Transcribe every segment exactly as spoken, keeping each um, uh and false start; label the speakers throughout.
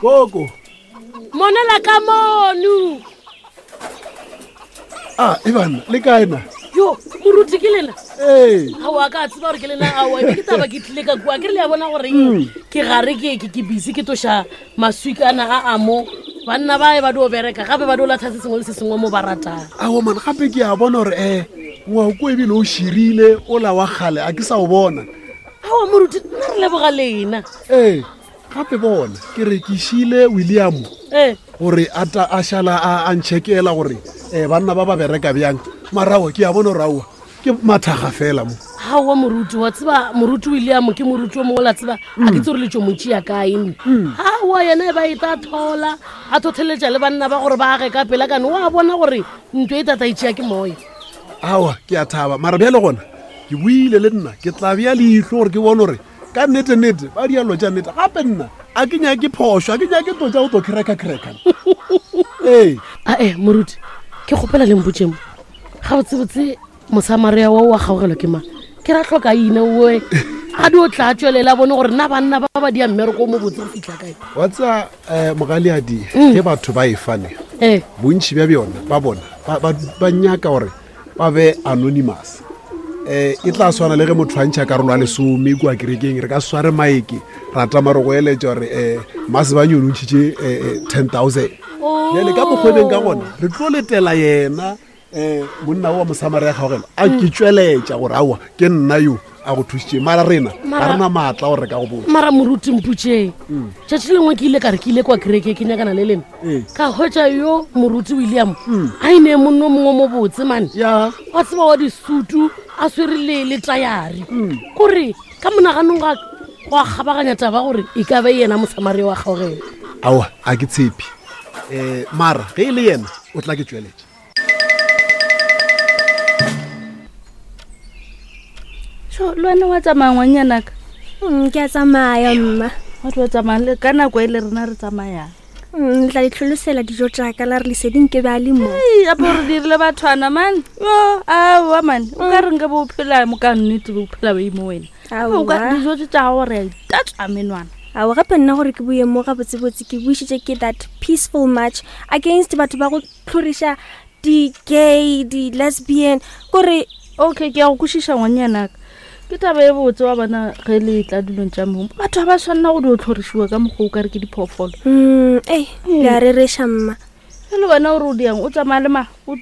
Speaker 1: Koko.
Speaker 2: Monela ka mono.
Speaker 1: A e banna le kae na?
Speaker 2: Yo, moruti ke lena?
Speaker 1: Ee.
Speaker 2: Aowa ka tseba gore ke lena aowa ke taba ke tlile ka kua ke re le a bona gore ke gare ke ke ke busy ke toša maswikana a a mo banna ba e ba dio bereka gape ba dio latlha se sengwe le se sengwe mo ba ratang.
Speaker 1: Aowa man gape ke a bona gore um ngwako ebile o širile ola wa kgale a ke sa o bona.
Speaker 2: Aowa moruti nna re leboga lena.
Speaker 1: Ee gape bona ke re ke šile William
Speaker 2: ee
Speaker 1: gore a ta a šala a a ntšhekela gore um banna ba ba bereka bjang marago ke a bona gore aowa ke mathaga fela mo.
Speaker 2: Aowa moruti wa tseba moruti William ke moruti o mongwe la tseba a ke tse gore letšo montši ya kae nne. Aowa yena e ba e ta thola a thotheletša le banna ba gore ba age ka pela kane wa bona gore ntlo e tata e tšea ke moya.
Speaker 1: Aowa ke a thaba mara bjale gona ke buile le nna ke tla bea leihlo gore ke bone gore ka nnete-nnete ba dialo tša nnete gape nna a ke nyake phošo a ke nyake to tša go to cracker-cracker. Ee.
Speaker 2: Ae moruti ke kgopela le mpotseng gabotsebotse Mosamaria wa wa kgaogelwa ke mang? Ke ra tlhoka ina oe a di o tla tswelela bone gore nna banna ba ba dia mmereko o mo botse go fitlha kae.
Speaker 1: Wa tseba um mogaleadi ge batho ba e fane
Speaker 2: ee
Speaker 1: bontši bja bjona ba bona ba, ba, ba nyaka gore ba be anonymous. Um e tla swana le ge motho a ntšha karolo ya lesome kua kerekeng re ka sware maeke ra tama re go eletša gore um Masebanye o ntšhitše um ten thousand. Bjale ka mokgwebeng ka gona re tlo letela yena um monna wa Mosamaria kgaogelo a ke tšweletša gore aowa ke nna yo a go thušitše mara rena ga rena maatla gore re ka go botsa.
Speaker 2: Mara moruti mpotšeng tšatši lengwe ke ile ka re ke ile kwa kereke ke nyakana le lena ka hwetša yo moruti William a ine monno mongwe mo botse mane
Speaker 1: ya
Speaker 2: wa tseba wa disutu a swere le le tayari kore ka monaganong ga go a kgabaganya taba gore e ka be yena Mosamaria wa kgaogelo.
Speaker 1: Aowa a ke tshepe um mara ge e le yena o tla ke tšweletša.
Speaker 3: So le wena wa tsamaya ngwanyanaka?
Speaker 4: Mm, ke a tsamaya mma.
Speaker 3: Wa tlo tsamaya le ka nako e le rena re tsamayang.
Speaker 4: Mm, le tla le tlholosela dijo tšaka la re leseding ke be a le mo.
Speaker 3: Ei, ape gore dirile bathwana man. Yo, aowa man. O ka re nka bo phela mo ka nnete bo phela bo mo wena. O ka
Speaker 4: Aowa.
Speaker 3: dijo tše tša gago re a itatswa menwana.
Speaker 4: Aowa gape nna gore ke boye mo gabotsebotse ke buišitše ke that peaceful march against batho ba go tlhoriša di-gay, di-lesbian kore
Speaker 3: Okay, ke a go kwešiša ngwanyanaka. Ke taba e botse wa bona ge le tla dilong tša mo. Batho ga ba tshwanela go dio tlhorišiwa ka mokgwa o ka re ke diphoofolo.
Speaker 4: Mm, ei, le a rereša mma.
Speaker 3: E le wena ore o diang o tsamaya le ma o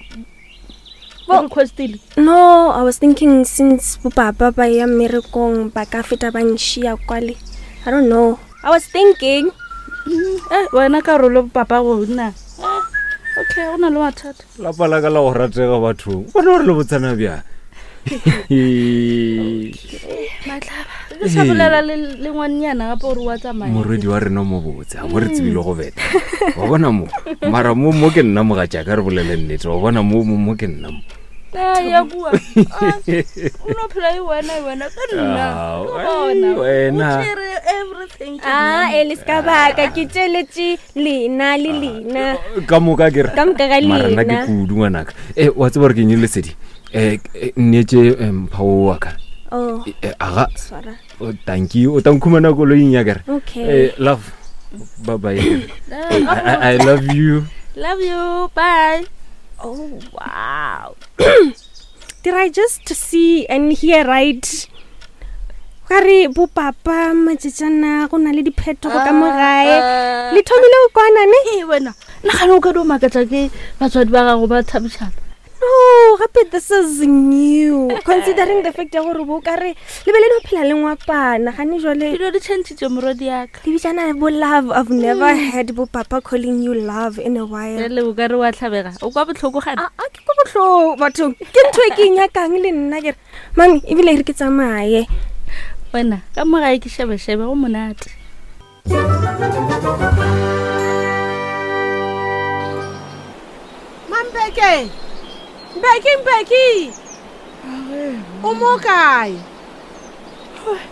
Speaker 3: o requestile?
Speaker 4: No, I was thinking since bopapa ba ya mmerekong ba ka feta ba nšia kwale. I don't know. I was thinking.
Speaker 3: Mm, eh, wena karolo papa go nna. Eh, okay, go na le mathata.
Speaker 5: Lapa la ka la go ratega bathong bona gore le botsana bjang.
Speaker 3: Matlaba ke sa bolela le le ngwannyana gape gore wa tsamaya.
Speaker 5: Morwedi wa rena mo botse a bo re tsebile go beta wa bona mo mara mo mo ke nna mogatšaka re bolele nnete wa bona mo mo mo ke nna mo.
Speaker 3: Eh, ya kua. Ah, o no phela e wena e wena ka nna.
Speaker 5: Ah,
Speaker 3: Ke bona.
Speaker 5: wena.
Speaker 3: O tšere everything ke
Speaker 4: Ah,
Speaker 3: nna.
Speaker 4: e le ska baka ke tšeletše lena le lena.
Speaker 5: Ka moka ke re
Speaker 4: Ka moka ga
Speaker 5: mara nna ke
Speaker 4: lena.
Speaker 5: kudu ngwanaka. E wa tseba gore ke eng lesedi um nneetse mpha o wa ka.
Speaker 4: Oh,
Speaker 5: Eh, aga
Speaker 4: swara.
Speaker 5: o tanki o tla nkhumana koloing ya kere.
Speaker 4: Okay.
Speaker 5: Eh, love bye bye.
Speaker 3: Eh,
Speaker 5: I, I, I love you.
Speaker 3: Love you. Bye.
Speaker 4: Oh, wow. Did I just see and hear right? Ka re bo papa matšatšana go na le diphetogo ka mo gae. Le thomile go kwana ne?
Speaker 3: Ee wena, nagana o ka dio makatša ke batswadi ba gago ba thabišana.
Speaker 4: No, gape this is new. Considering the fact ya gore bo ka re le be le no phela le ngwapana gane jwale
Speaker 3: Dilo di changile morwedi yaka.
Speaker 4: le bitsana bo love. I've never heard bo papa calling you love in a while.
Speaker 3: Jale o ka re wa tlhabega. O kwa botlhoko gane.
Speaker 4: A a ke ko bohloko bathong. Ke ntho e ke e nyakang le nna ke re mami ebile e re ke tsamaye.
Speaker 3: Wena ka mo gae ke shebeshebe go monate.
Speaker 6: Mampeke. Mbeki Mbeki. O mo kae?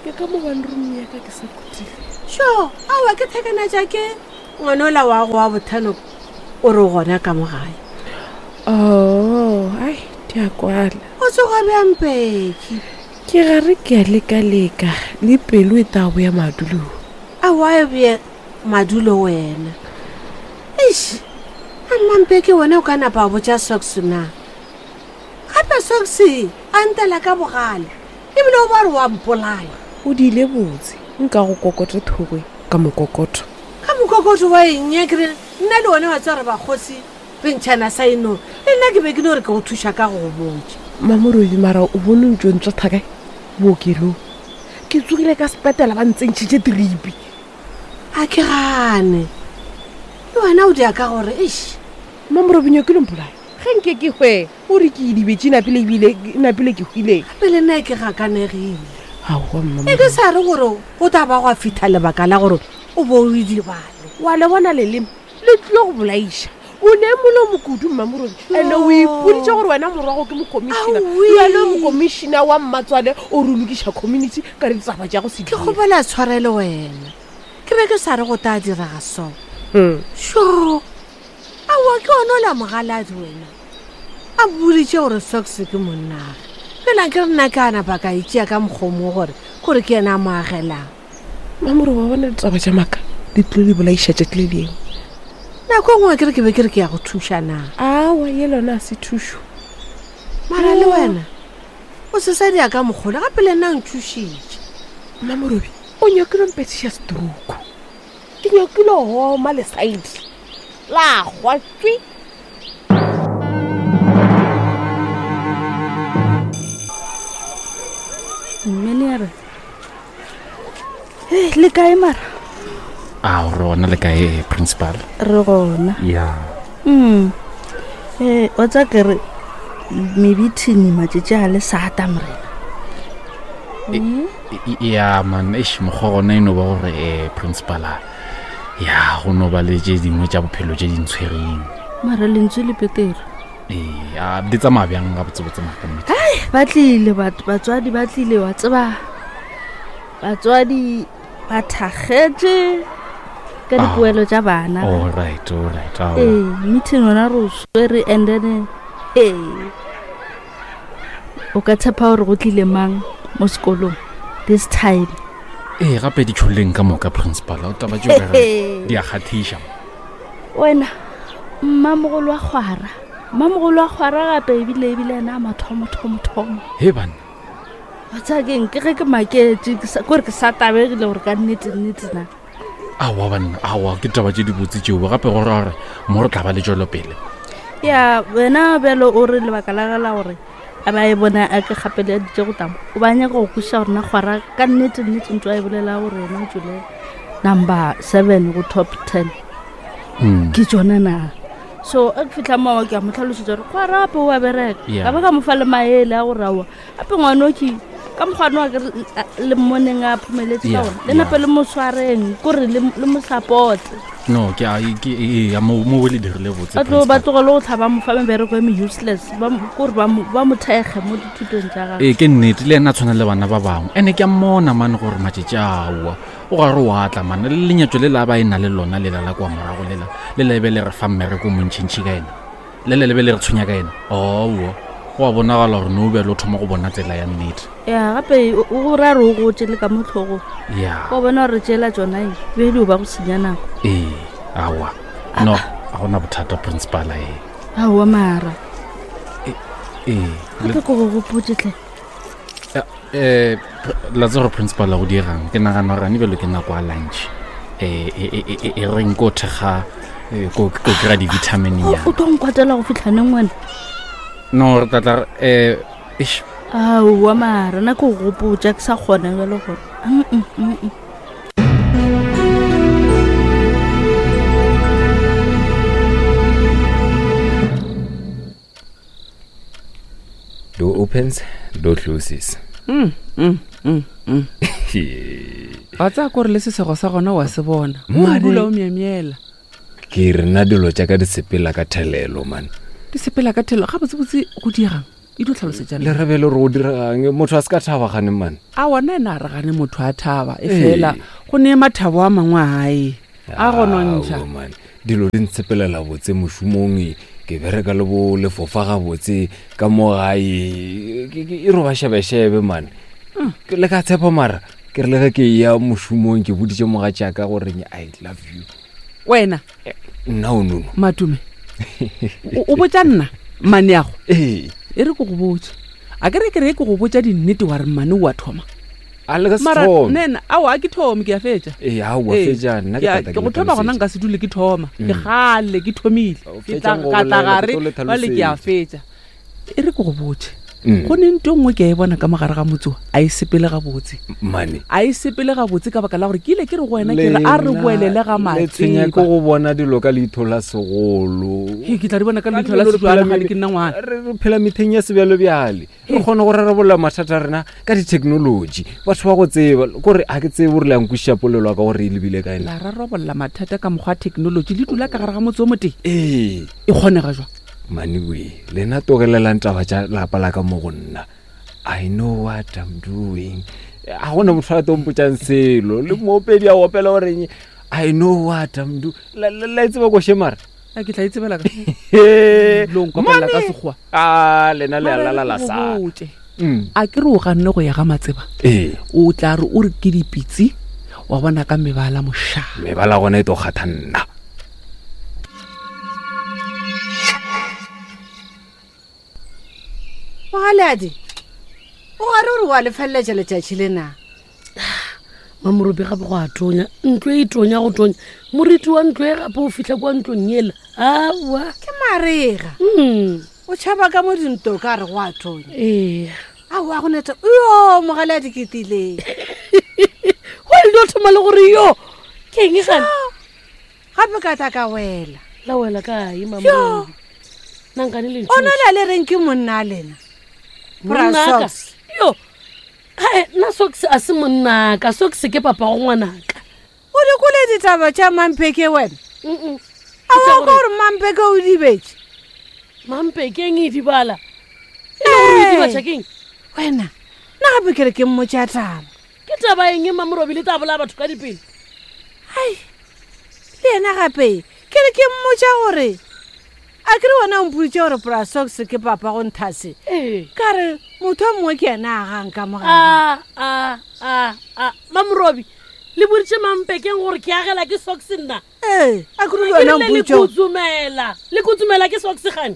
Speaker 7: Ke ka mo one room ya ka ke sa khutile.
Speaker 6: Sho, aowa ke thekana tša ke ngwana ola wa go wa bothano o re o gona ka mo gae.
Speaker 7: Oh, ai, di a kwala.
Speaker 6: O tsoga bjang Mbeki?
Speaker 7: Ke gare ke a lekaleka le pelo e tla boya madulong.
Speaker 6: Aowa e bje Madulo wena. Eish, a mmampeke wena o ka napa wa botša Socks na? Gape Socks a ntela ka bogale, ebile o ba re wa mpolaya.
Speaker 7: O diile botse, nka go kokote thogwe ka mokokotho.
Speaker 6: Ka mokokotho wa eng ya kere nna le wena wa tswa re bakgosi re ntšhana saeno, le nna ke be ke no re ke go thuša ka go go botša.
Speaker 7: Mamorobi mara o bone ntšo ntswa thakae bookelong. Ke tsogile ka sepetela ba ntsentšhitše tripi.
Speaker 6: A ke gane. Le wena o dia ka gore eish.
Speaker 7: Mamorobi nyakile mpolaya. Ge nke ke hwe, o re ke idibetše napile ebile napile ke hwile.
Speaker 6: Gape le nna ke gakanegile.
Speaker 7: Aowa mma.
Speaker 6: E ke sa re gore go tla ba gwa fihla lebaka la gore o bo o idibale.
Speaker 7: Wa le bona leleme le tlile go bolaiša. O ne molomo kudu Mmamorobi. Ene o ipoditše gore wena morwago ke mokomišina. Wena mokomišina wa mmatswale o re lokiša community ka ditaba tša go se
Speaker 6: Ke kgopela tshwarelo wena. Ke be ke sa re go tla direga so. Sho. Aowa ke ona o la mogaladi wena. A boditše gore Socks ke monnage. Fela ke re nna ke a napa ka itšea ka mokgomo gore kore ke yena a mo agelang.
Speaker 7: Mmamorobi wa bona ditaba tša maaka di tlile di bolaiša tšatši le lengwe.
Speaker 6: Nako e nngwe ke re ke be ke re ke ya go thuša na.
Speaker 7: Aowa ye lona a se thušo.
Speaker 6: Mara le wena o se sa dia ka mokgolo gape le nna o nthušitše.
Speaker 7: Mmamorobi o nyakile mpethiša stroke. Ke nyakile homa le side la gwa tswi.
Speaker 3: Mmenere. Eh, le kae mara?
Speaker 5: A re gona le kae principal?
Speaker 3: Re gona.
Speaker 5: Ya.
Speaker 3: Mm. Eh, wa tsa ke re mebithini matšatši a le sata morena.
Speaker 5: Ya man, eish mokgwa gona e no ba gore eh principal a ya go no ba le tše dingwe tša bophelo tše di ntshwereng.
Speaker 3: Mara lentswe le petere.
Speaker 5: Ee, a di tsamaya bjang ga botsebotse maka nnete?
Speaker 3: Ai, ba tlile batho, batswadi ba tlile wa tseba. Batswadi ba thakgetše ka dipoelo tša bana.
Speaker 5: All right, all right. Aowa.
Speaker 3: Ee, meeting yona re o swere and then ee. O ka tshepa gore go tlile mang mo sekolong this time?
Speaker 5: Ee, gape di tšholleng ka moka principal, o taba tšeo ka re di a kgathiša.
Speaker 3: Wena, mmamogolo wa kgwara. Mmamogolo wa kgwara gape ebile ebile ena a mathomo thomo thomo.
Speaker 5: He banna.
Speaker 3: Wa tseba keng, ke ge ke maketše, ke sa- kore ke sa tabegile gore ka nnete nnete na.
Speaker 5: Aowa banna, aowa ke taba tše di botse tšeo gape go ra gore mo re tla ba le tšwelopele.
Speaker 3: Ya, wena bjalo o re lebaka la ge la gore a ba e bona a ke gapeleditše go tamo. O ba nyaka go kwešiša gore na kgwara ka nnete nnete ntho a e bolela gore yena o tšwele number seven go top ten.
Speaker 5: Mm.
Speaker 3: Ke tšona na. So a ke fihla moo ke a mo hlalosetša gore kgwara gape o a bereka.
Speaker 5: Yeah.
Speaker 3: Ka ba ka mo fa le maele a gore aowa gape ngwana o ke ka mokgwa wa ke re, le mmoneng a phomeletse ka
Speaker 5: Yeah,
Speaker 3: ona. Le nape
Speaker 5: yeah.
Speaker 3: le mo tshwareng, kore le le mo support.
Speaker 5: No, ke a ke ee, ya mo mo le dirile botse.
Speaker 3: Ba tlo ba
Speaker 5: principal.
Speaker 3: tlogele go tlhaba mo fa mebereko e me useless, ba mo- kore ba mo ba mo thekge mo dithutong tša gagwe.
Speaker 5: Ee, ke nnete le ena a tshwana le bana ba bangwe. Ene ke a mmona mane gore matšatši aowa o gare o atla mane le lenyatšo le la ba e na le lona lela la kwa morago lela le le be le re fa mmereko o montšhintšhi ka ena le le lebe le re tshwenya ka ena. Aowa go a bonagala gore no bjale o thoma go bona tsela ya nnete.
Speaker 3: Ya gape o o ra re o gotše le ka mo tlhogong.
Speaker 5: Ya.
Speaker 3: Wa bona gore tšela tšona e be di o ba go senya nako.
Speaker 5: Ee, aowa. No, ga gona bothata principal ee.
Speaker 3: Aowa mara.
Speaker 5: Ee.
Speaker 3: Gape ko go gopotše tle.
Speaker 5: Eh, la tseba gore principal a go diegang ke nagana gore ane bjalo ke nako ya lunch. Eh, e e e e reng ko thekga eh, ko ko kry-a di-vitamin
Speaker 3: O
Speaker 5: nyana.
Speaker 3: o tlo nkwatela go fitlha neng wena?
Speaker 5: No, re tla tla eh eish
Speaker 3: Aowa mara nna ke go gopotša ke sa kgona bjalo gore. Mm, mm, mm.
Speaker 5: Door opens, door closes.
Speaker 8: Mm, mm, mm, mm. Wa tsaya kore le sesego sa gona wa se bona. O
Speaker 5: Mane.
Speaker 8: dula o myemyela.
Speaker 5: Ke re nna dilo tša ka di sepela ka thelelo man.
Speaker 8: Di sepela ka thelo ga botsebotse go diegang. E dio tlhalosetša
Speaker 5: Le
Speaker 8: nna.
Speaker 5: rebele gore go diregang motho a se ka thaba gane man.
Speaker 8: A wona ena a re gane motho a thaba e
Speaker 5: Ee.
Speaker 8: fela go ne mathabo a mangwe a gae a go nontšha.
Speaker 5: Aowa, man. Dilo di ntshepelela botse mošomong e, ke bereka le bo lefofa gabotse ka mo gae ke- ke- e roba šebešebe man. Ke- Le ka tshepa mara
Speaker 8: Ke re le ge ke ya mošomong ke boditše mogatšaka gore I love you.
Speaker 9: Wena
Speaker 8: Nna o nono.
Speaker 9: Matume o o botša nna maneago
Speaker 8: Ee.
Speaker 9: E re ke go botse, a ke re ke re ke go botša dinnete wa re mmane o a thoma.
Speaker 8: A le ka se
Speaker 9: Mara
Speaker 8: thome.
Speaker 9: nena ao a ke thome, ke a fetša.
Speaker 8: Ee, aowa,
Speaker 9: Ee,
Speaker 8: fetša, nna ke
Speaker 9: ke a-
Speaker 8: tata
Speaker 9: ke go
Speaker 8: le
Speaker 9: thoma gona
Speaker 8: hlalosetše.
Speaker 9: nka se dule ke thoma, ke
Speaker 8: Mm.
Speaker 9: gale ke thomile.
Speaker 8: O
Speaker 9: Ke tla
Speaker 8: fetšang go
Speaker 9: ka tla
Speaker 8: bolela,
Speaker 9: gare
Speaker 8: ke tlo le
Speaker 9: bale ke a
Speaker 8: hlalosetša.
Speaker 9: fetša. E re ke go botse,
Speaker 8: Mm.
Speaker 9: go ne nto nngwe ke a e bona ka mogare ga motse o, a e sepele gabotse.
Speaker 8: Mane.
Speaker 9: A e sepele gabotse ka baka la gore ke ile ke re go wena ke re a re
Speaker 8: Lena
Speaker 9: boelele ga
Speaker 8: le tshwenya ke
Speaker 9: Matseba.
Speaker 8: go bona dilo ka leitho la segolo.
Speaker 9: Hei, ke tla di bona ka
Speaker 8: Ka
Speaker 9: leihlo la
Speaker 8: dilo re phela
Speaker 9: sejwana gane
Speaker 8: mele-
Speaker 9: ke nna ngwana.
Speaker 8: Re re phela metheng ya sebjalebjale, re kgona go rarabolla mathata a rena ka di-technology. Batho ba go tseba kore a ke tsebe gore le ankwešiša polelo ya ka gore e lebile kae
Speaker 9: La
Speaker 8: na.
Speaker 9: rarabolla mathata ka mokgwa wa technology le dula ka gare ga motse o motee.
Speaker 8: Ee.
Speaker 9: E kgonega jwang?
Speaker 8: Maniwe, lena togelelang taba tša lapa la ka mo go nna. I know what I'm doing. A gona motho a tlo mpotšang selo. Le moopedi a opela goreng I know what I'm doing. La la- la e tseba koše mara?
Speaker 9: A ke tla e tsebela ka
Speaker 8: He,
Speaker 9: Lo nkopella ka
Speaker 8: mane.
Speaker 9: Sekgowa.
Speaker 8: A lena le a
Speaker 9: Mara
Speaker 8: lala la
Speaker 9: ke go
Speaker 8: sa.
Speaker 9: botše.
Speaker 8: Mm.
Speaker 9: A ke re o ganne go ya ga Matseba.
Speaker 8: Ee.
Speaker 9: O tla re o re ke dipitsi wa bona ka mebala mošaa.
Speaker 8: Mebala gona e tlo kgatha nna.
Speaker 6: Mogaladi, o gare ore wa lefeleletša letšatši le na?
Speaker 2: Mamorobi gape go a tonya ntlo e tonya go tonya, moriti wa ntlo e gape o fitlha kwa ntlong ela aowa.
Speaker 6: Ke marega.
Speaker 2: Mm.
Speaker 6: O tšhaba ka mo dinto ka re go a tonya.
Speaker 2: Ee.
Speaker 6: Aowa, go neta yo mogaladi ke tileng.
Speaker 2: Go le dio thoma le gore yo ke eng gane?
Speaker 6: Gape ka tla ka wela.
Speaker 2: La wela kae Mamorobi? Nankane le
Speaker 6: O na le le reng ke monna a lena? Bra
Speaker 2: Monnaka.
Speaker 6: Socks.
Speaker 2: Yo ae, nna Socks a se monnaka, Socks ke papa go ngwanaka.
Speaker 6: O di kwele ditaba tša Mampeke wena?
Speaker 2: Mm-mm.
Speaker 6: A wa kwa gore Mampeke o dibetše?
Speaker 2: Mampekeng e dibala e le gore o dibatša keng?
Speaker 6: Wena, nna gape ke re ke mmotša taba.
Speaker 2: Ke taba eng Mamorobi le tla bolaya batho ka dipele?
Speaker 6: Ai, le yena gape ke re ke mmotša gore a ke re wena o mpoditše gore Bra Socks ke papa go nthase.
Speaker 2: Ee.
Speaker 6: Ka re motho o mongwe ke yena a gang ka mogare.
Speaker 2: A a a a Mamorobi le boditše Mampekeng gore ke agela ke Socks nna?
Speaker 6: Ee, a ke re le
Speaker 2: Ke
Speaker 6: wena o
Speaker 2: rile le
Speaker 6: mpoditše gore-
Speaker 2: kutsumela, le kutsumela ke Socks gane?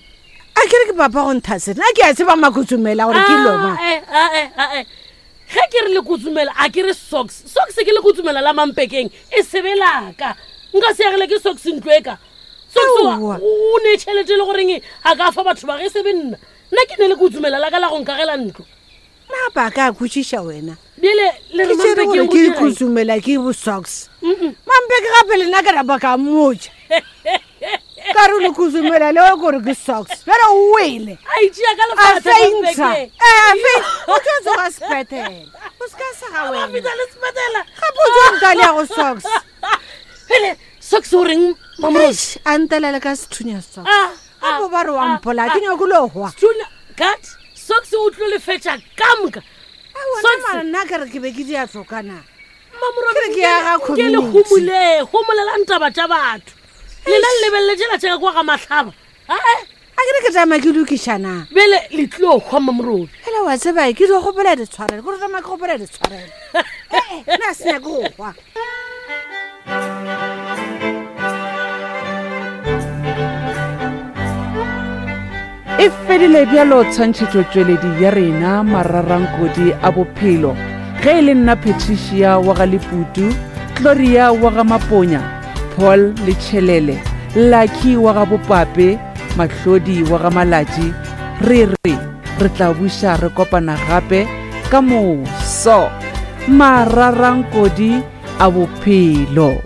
Speaker 6: A ke re ke papa go nthase, nna ke a tseba makutsumela gore ke lona.
Speaker 2: Ae, ae, ae. Ge ke re le kutsumela a ke re Socks, Socks ke le kutsumela la Mampekeng e sebe laka. Nka se agele ke Socks ntlo e ka. Socks wa-
Speaker 6: Aowa.
Speaker 2: o ne tšhelete e le goreng a ka fa batho ba ge sebe nna. Nna ke ne le kutsumela la ka la go nkagela ntlo.
Speaker 6: Nna gape a ka a kwešiša wena.
Speaker 2: Bjale le re
Speaker 6: Ke tšere gore
Speaker 2: Mampekeng
Speaker 6: ke
Speaker 2: o dirang?
Speaker 6: kutsumela ke bo Socks.
Speaker 2: Mm-mm.
Speaker 6: Mampeke gape le nna ke rapa ka mmotša. Ka re le kutsumela leo kore ke Socks. Bjale o wele.
Speaker 2: A itšea ka
Speaker 6: A
Speaker 2: lefatshe
Speaker 6: fainta.
Speaker 2: Mampeke.
Speaker 6: Ee, a fainta. O tlo tsoga sepetele. O se ka sega
Speaker 2: A
Speaker 6: wena.
Speaker 2: fihla le sepetela.
Speaker 6: Gape o tlo ntale ya go Socks.
Speaker 2: Pele Socks o reng Mamorobi?
Speaker 6: Eish, a ntelele ka sethunya Socks.
Speaker 2: Ah, ah,
Speaker 6: Gape ba re wa
Speaker 2: ah,
Speaker 6: mpola,
Speaker 2: ah.
Speaker 6: ke nyako lo hwa.
Speaker 2: Sethunya kat Socks o tlo lefetša ka moka.
Speaker 6: Aowa,
Speaker 2: Socks.
Speaker 6: nna mara nna ke re ke be ke di a tlokana.
Speaker 2: Mamorobi,
Speaker 6: Ke re ke ya ga
Speaker 2: nke le
Speaker 6: community.
Speaker 2: homole, homolelang taba tša batho. Lena le lebeletse la tšeka kwa ga Mahlaba. Ae,
Speaker 6: A ke re ke tsamaya ke lokišana.
Speaker 2: bjale le tlilo hwa Mamorobi.
Speaker 6: Fela wa tseba ke di kgopela ditshwarelo, ke re tsamaya ke kgopela ditshwarelo. Ee, nna se nyake go hwa.
Speaker 9: E fedile bjalo tshwantšhetšotšweledi ya rena mararankodi a bophelo. Ge e le nna Patricia wa ga Leputu, Gloria wa ga Maponya, Paul Letšhelele, Lucky wa ga Bopape, Mahlodi wa ga Malatši, re re re tla buša re kopana gape ka moso. Mararankodi a bophelo.